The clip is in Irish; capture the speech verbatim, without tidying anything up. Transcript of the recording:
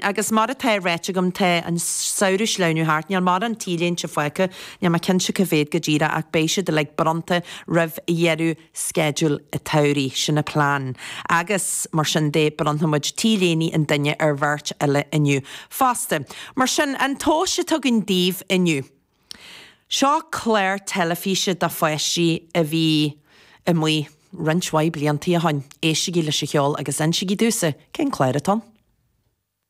Agus mar atá ráite agam tá an samhradh sleamhnú thart, níl mórán T-léinte fágtha, níl mé cinnte cá mhéad go díreach ach beidh siad uilig bronnta roimh dheireadh sceideal an tsamhraidh, sin an plean. Agus mar sin de bronnfaidh muid T-léine an duine ar bheirt eile inniu fosta. Mar sin, an tomhas atá againn daoibh inniu. Seo clár teilifíse do pháistí a bhí amuigh roinnt mhaith blianta ó shin. Éistigí leis an cheol agus insígí domhsa cén clár atá ann.